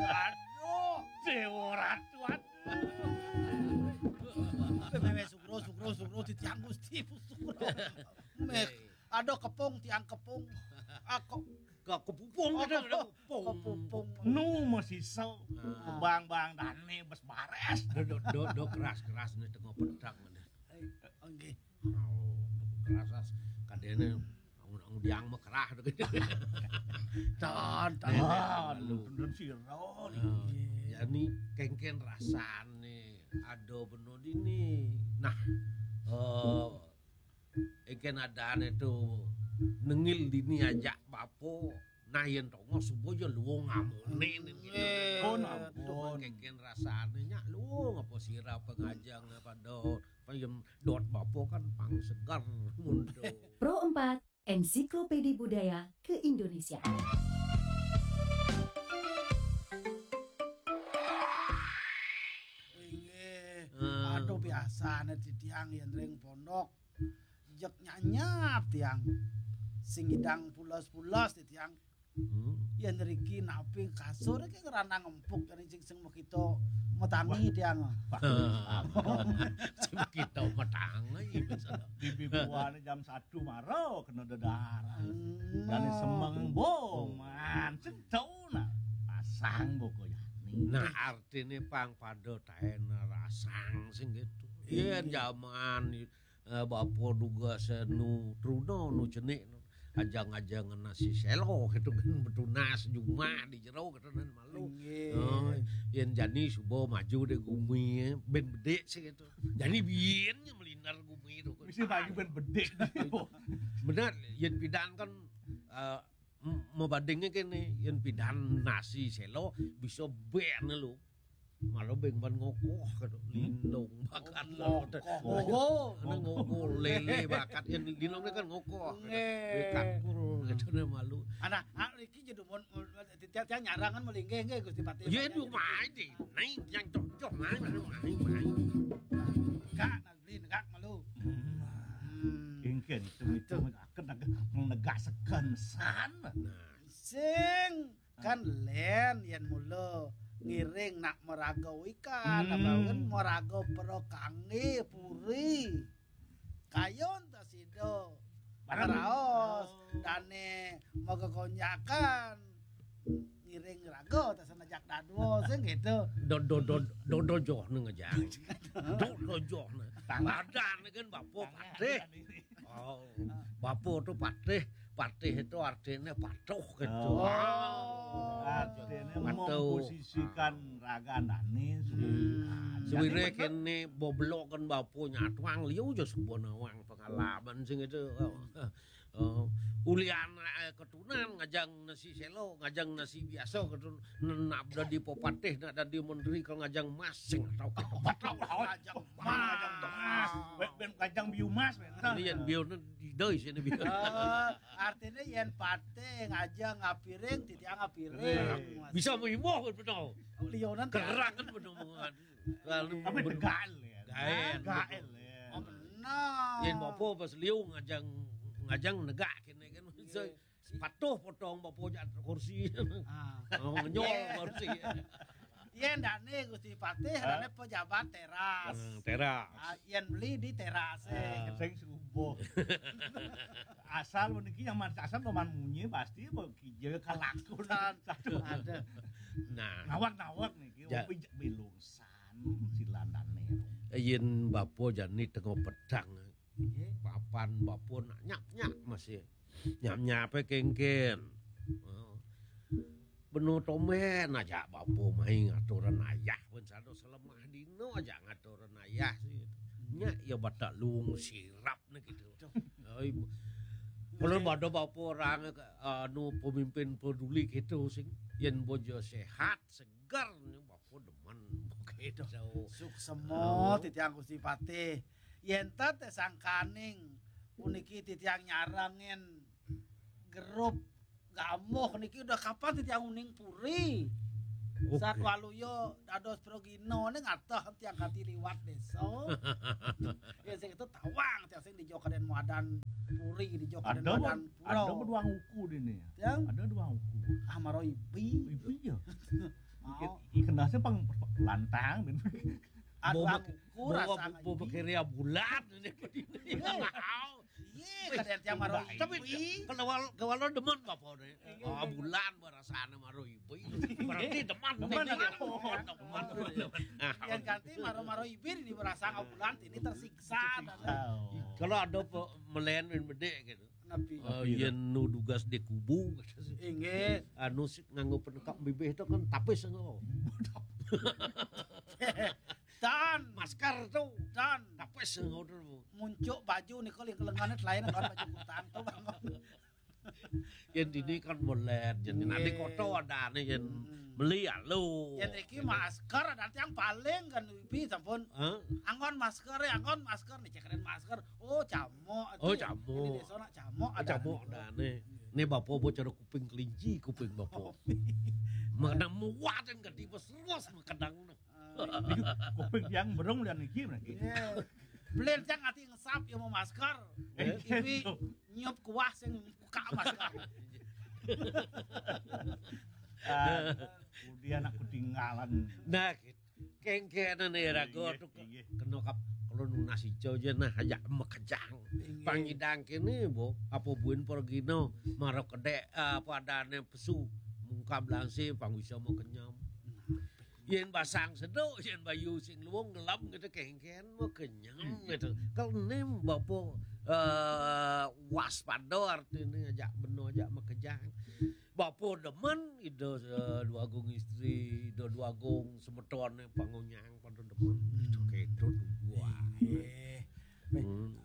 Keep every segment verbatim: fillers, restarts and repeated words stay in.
Aduh, Dewa Ratu, aduh. Mewe sugro, sugro, sugro, titiang Gusti, sugro. Meh, ada kepung, tiang kepung. Aku kepupung, ada kepung. Kepupung. Nu masisa. Bang-bang dane bes bares. Do, do, do, do keras-keras nih tengah pedang mana. Nggih. Oh, kerasa kadene angun-angun yang mekerah. Tan, tan. Lu bener sira. Jani kengken rasane ada beno dini. Nah, eh engken adane to nengil dini ajak bapo. Nah, yen tongos suba ya luwung amune. Oh, ampun. Kengken rasane nyak luwung apa sira pengajeng pada payem dot bapo kan pang seger mundo. Pro empat, Ensiklopedi Budaya Keindonesiaan. Inggih. Aduh, biasane titiang yen ring pondok jek nyanyap tiang. Sing ngidang pulos-pulos titiang. Hmm. Yen riki napi kasur iki ngeranang empuk yen sing sing mekita metangi tiang. Sing mekita metangi. Bibi buane jam satu maro kena dedar. Hmm. Jane semeng boman sing tau nak pasang boko yani. Nah, artine pang pada taen rasang sing gitu. Yen jaman eh, bapa duga senu truna nu cenik ajang-ajang nasi selo gitu kan betunas jumah di jero gitu kan malu. Nggih. Oh, yen jani suba maju de gumi ben bedik sih gitu. Jani biyen nya melindar gumi itu kan. Mesti maju ben bedik. Bener, yen pidan kan eh, m- mebandinge kene yen pidan nasi selo bisa ben lu. Malah beng ban ngokoh gitu. Lindung bakat lo. Oh, kena ngokoh lele bakat yang lindung kan ngokoh. Nggih. Bekat pur gitu ne malu. Anak, ah, iki jadi mon mon- tiap-tiap nyarangan melinggih nggih Gusti Patih. Ya itu main deh. Naik yang cocok main main main main. Kak, nak beli negak malu. Hmm. Engken itu itu akan negak negak sekensan. Nah. Sing kan len yen mula ngiring nak meraga ikan, hmm, abawen meraga para kangge puri. Kayun ta sida. Bareng. Raos, oh, dane maga konjakan. Ngiring raga ta senejak dadua sing gitu. Do do do do do joh nang aja. Do do joh nang. Badan kan bapa patih. Oh, bapa tu patih, patih itu artinya patuh gitu. Oh. Artinya memposisikan raga dane. Hmm. Suwire kene bobloken bapa nyatuang liu aja suba nawang pengalaman sing itu. Oh. Oh. Ulian eh, ketunan ngajang nasi selo, ngajang nasi biasa ketun nak dadi pepatih, nak dadi menteri kalau ngajang emas sing tau. Ngajang emas. Ngajang emas. Ben ngajang biu emas ben. Ini yang biu ni doi sini biu. Eh, artinya yen patih ngajang ngapiring, titiang ngapiring. Bisa maimbah kan betul. Lionan kerang kan betul. Lalu tapi ber- gael ya. Gael. Gael ya. Oh, benar. Yen bapa pas liu ngajang ngajang negak kene kan. Iya. Patuh potong bapa jak kursi. Ah. Oh, ngenyol kursi. Yen dane Gusti Patih, dane pejabat teras. Hmm, teras. Ah, yen beli di teras. Ah, sing subuh. Asal meniki yang man asal paman munyi pasti kija kalakunan. Satu. Ada. Nah. Nawak-nawak niki, ja- opi belungsan silandane. Yen bapa jani tengah pedang. Nggih. Papan bapa nak nyap-nyap masih. Nyap-nyape kengken. Oh. Beno tomben aja bapa mai ngaturan ayah pun sado selemah dino aja ngaturan ayah sih. Nya ya batak lung sirap ne gitu. Oi. Kalau pada bapa orang anu pemimpin peduli gitu sing yen bojo sehat segar ne bapa demen gitu. Suksema titiang Gusti Patih. Yen tet sangkaning puniki titiang nyarengin grup gamuh niki udah kapan titiang uning puri. Oke. Satwaluya dados progina ning atah tiang kati liwat desa. Ya sing itu tawang tiang sing di Jokaden Muadan puri di Jok ada, ada dua uku di ini. Yang ada dua uku. Ah, maro ibi. Ibi ya. Mau. Ikan nasi pang lantang. Ada dua uku rasa. Bobo kiri bulan ini. Iya, kadang tiang maro ibi. Tapi kalau kalau demen apa nih? Oh, bulan barasane maro ibi. Berarti demen. Demen. Yang ganti maro-maro ibi ini berasa bulan ini tersiksa. Kalau ada melen men bedek gitu. Napi? Yen nu dugas di kubu. Inggih. Anu sik nganggo penekap bibih itu kan tapis nggo. Dan masker tuh dan tapis nggo. Muncuk baju nih kalau yang lengannya selain kan baju kutang tuh, Bang. Yen dini kan melet, yen nanti koto ada nih yen beli ya lu. Yen iki masker ada yang paling kan ibi sampun. Anggon masker ya, anggon masker nih cekren masker. Oh, camuk. Oh, camuk. Ini desa nak camuk ada. Camuk ada nih. Nih bapak bocor kuping kelinci, kuping bapak. Mana muat yang gede terus kadang. Kuping yang berung dan iki lagi. Belen yang ati ngesap ya mau masker. Ibi nyup kuah sing buka masker. Kemudian aku tinggalan. Nah, gitu. Kengkenan ya rago tuh kena kap kalau nunas ijo aja nah aja mekejang. Pangidang kene bo apa buin porgino maro kedek apa adane pesu mungkab langsi pang bisa mau kenyam. Yen basang seduk, yen bayu sing luwung gelem gitu kengken mau kenyam gitu. Kalau nem bapo eh, waspada artine ajak beno ajak mekejang. Bapo demen ida eh, dua agung istri, ida dua agung semetone pangonyang pada demen. Itu kedo dua. Eh. Hmm.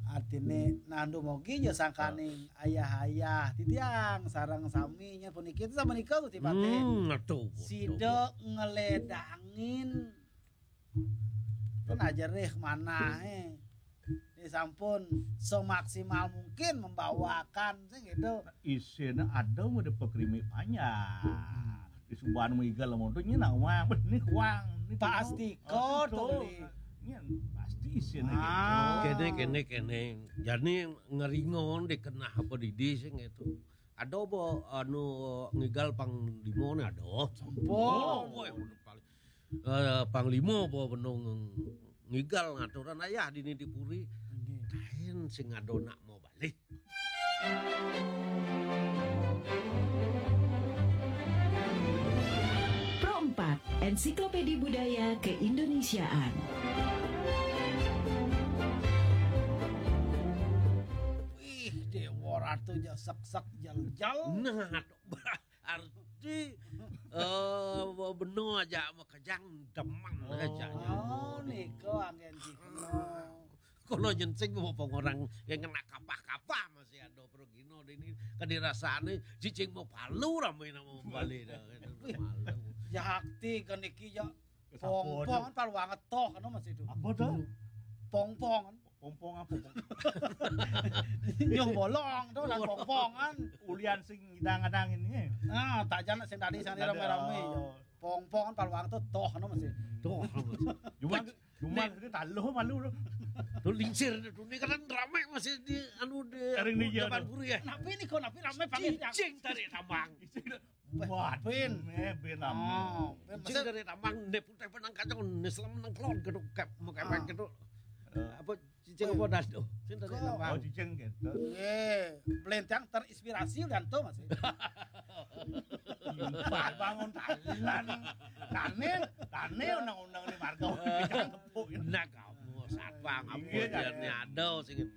Artine nandu mogi ya sangkaning ayah-ayah titiang sareng sami nya puniki itu sama nika Gusti Patih. Hmm, aduh. Sida ngeledangin kan aja reh manahe. Ini sampun semaksimal mungkin membawakan sing gitu. Isine ada mau dipekrimi panjang. Di subahan mau igal mau tuh nyina wang benih wang. Pasti kau tuh. Nyen pasti isine gitu. Kene kene kene. Jani ngeringon dikenah apa didi sing gitu. Ada apa anu ngigal pang limo ne ada. Sampun. Oh, boy, udah paling eh, panglima apa benung ngigal ngaturan ayah dini di puri. Kain sing ada nak mau balik. Pro empat, Ensiklopedi Budaya Keindonesiaan. Ih, Dewa Ratu ja seksek jal-jal. Nah, arti eh beno aja makejang demen aja. Oh, nika anggen cikno. Kalau nyensing mau orang yang kena kapah-kapah masih ada pergino ini kan dirasane cicing mau palu ramai nama balik dah. Malu. Jakti kan iki ya pongpong kan palu anget toh kan masih itu. Apa tuh? Pongpong kan. Pompong apa? Nyuh bolong tuh lan pompong kan. Ulian sing ngidang-ngidang ini. Nah, tak jana sing tadi sing rame-rame. Pompong kan paluang tuh toh no masih. Tuh. Cuma cuma itu taluh malu tuh. Tuh lingsir tuh ini kan rame masih di anu di Ring di depan puri ya. Napi ini kok napi rame panggil. Cicing tarik tambang. Buat bin. Eh, bin lama. Oh, bin Cicing dari tambang ne putih penang kacang ne selam nang kelon geduk kep mau kepek geduk. Apa cicing apa dado? Cicing dari tambang. Oh, cicing gitu. Eh, belentang terinspirasi dan tuh masih. Bangun talan. Tane, tane undang-undang di marga. Nah kamu satpam apa dia ada sing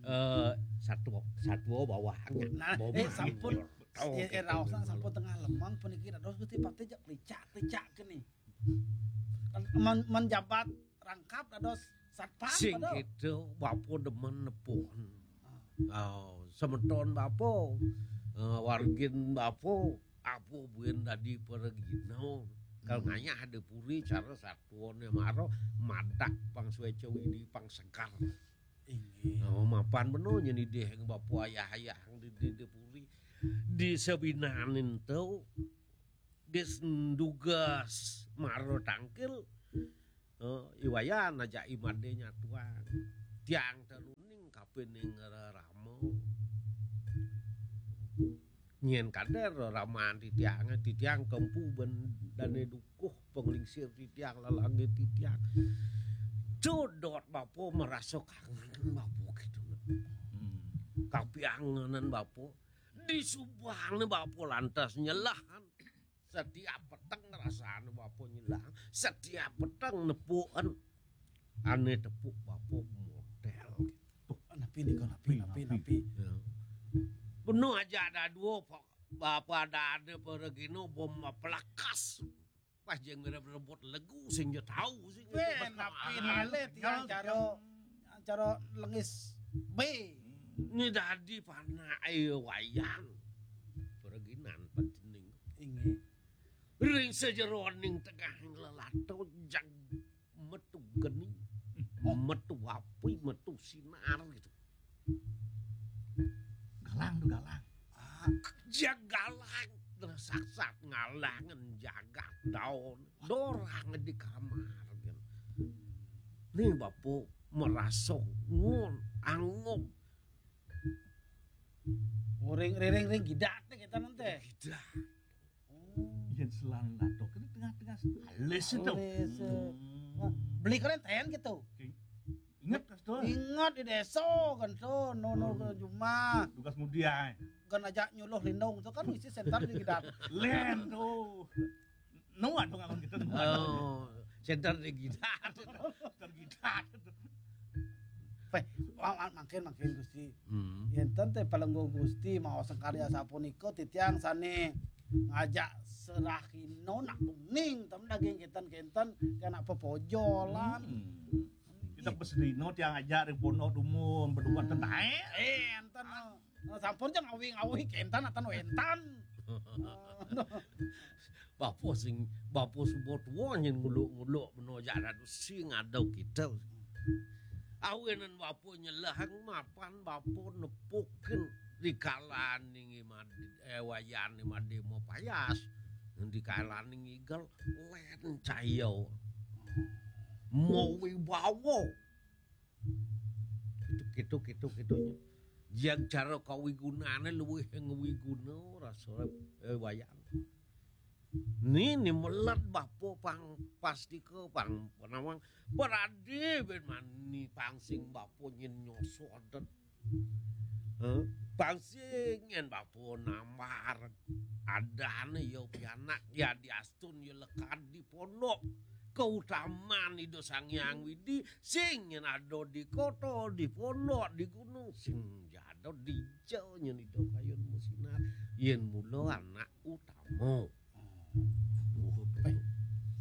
eh satu satu bawahnya. Nah, eh sampun eh raosan sampun tengah lemang puniki dados Gusti Patih jak licak-licak kene. Men, menjabat rangkap dados satpam sing gitu bapo demen nepun. Oh, semeton bapo eh, wargin bapo apa buin dadi peregino. Kalau ngayah ada puri cara satuannya maro madak pang sueca widi pang segar. Inggih. Oh, mapan beno nyeni deh bapu ayah-ayah di, di, di puri. Di sebinanin tu di sendugas maro tangkil. Oh, iwayan aja imade nyatuan. Tiang teruning Pining rerama. Nyén kadén reraman titiangé, titiang kempu ben dané dukuh panglingsir titiang, lelangé titiang. Codot bapa marasa kangen bapa kéto. Hmm. Kapiangenan bapa. Disubané bapa lantas nyelahan. Setiap peteng rasané bapa nyelahan, setiap peteng nepukan. Ané tepuk bapa modél. Tuh, napi nika, napi, napi, napi. Ya. Bener aja ada dua, Pak. Bapa ada, ada pergino bom pelekas. Pas jeng rebut legu sing ja tahu sing. Wéh, napi nalih tiang cara, cara lengis. Bé. Ini dadi panake Wayan. Perginan pancening. Inggih. Ring sajeroning tengahing lelato jag metu geni, metu api, metu sinar gitu. Galang tuh, galang. Ah, jag galang, saksat ngalangan jagat daun. Dorang di kamar gitu. Nih bapa merasa ngun, angob. Uring riring ring gidat téh kita nanti. Gidat. Oh. Yén selan lato kan tengah-tengah halus itu. Halus, eh. Hmm. Wah, beli keren ten gitu. Ingat, Kas Dul. Ingat di desa kan tuh, no, no, hmm, ke jumah. Tugas mudia. Kan aja nyuluh lindung tuh kan isi senter di gidat. Lén tuh. Nu ada ngalon kita, nu ada. Oh, senter di gidat. Senter gidat. Péh, wa-, wa-, mangkin, mangkin, Gusti. Hmm. Yénten téh palengguh Gusti maos karya sapunika titiang sané ngajak serahina nak kuning, tem daging kénten-kénten, kena pepojolan. Hmm. Kita pesedino tiang ajak ring pondok dumun, beduan ten taé. Eh, énten. Nah, sampun ja ngawi-ngawi kénten atan wénten. Bapa sing, bapa suba tua nyén nguluk-nguluk bena jak dadu sing ada kita. Awinan bapa nyelehang mapan bapa nepukin di kalaning i Madi, eh, Wayan i Madi mapayas. Di kalaning igel lén caya. Mawibawa. Kitu, kitu, kitu, kitu, nya. Yang cara kawigunané luwih ngwiguna rasa, eh, Wayan. Ni, ni melet bapa pang pastika pang panawang. Berade ben mani pang sing bapa nyén nyosoden. Heh, pang sing nyén bapa nambar. Adané ya pianak, ya diastun ya lekad di pondok. Kautaman Ida Sang Hyang Widi, sing nyén ada di kota, di pondok, di gunung, sing ja ada dija nyén Ida kayun masinar. Yén mula anak utama. Oh, eh,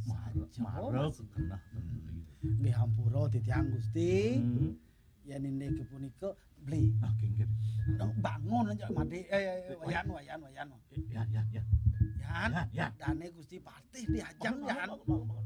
mara, mara kenah beli. Nggih, hampura titiang Gusti. Hmm. Yén inggih punika beli. Ah, nggih, nggih. Bangun aja Madi, eh, Wayan, Wayan, Wayan. Eh, Yan, Yan, Yan. Yan, Yan, Yan. Dané Gusti Patih diajeng, bangun, Yan. Bangun, bangun, bangun.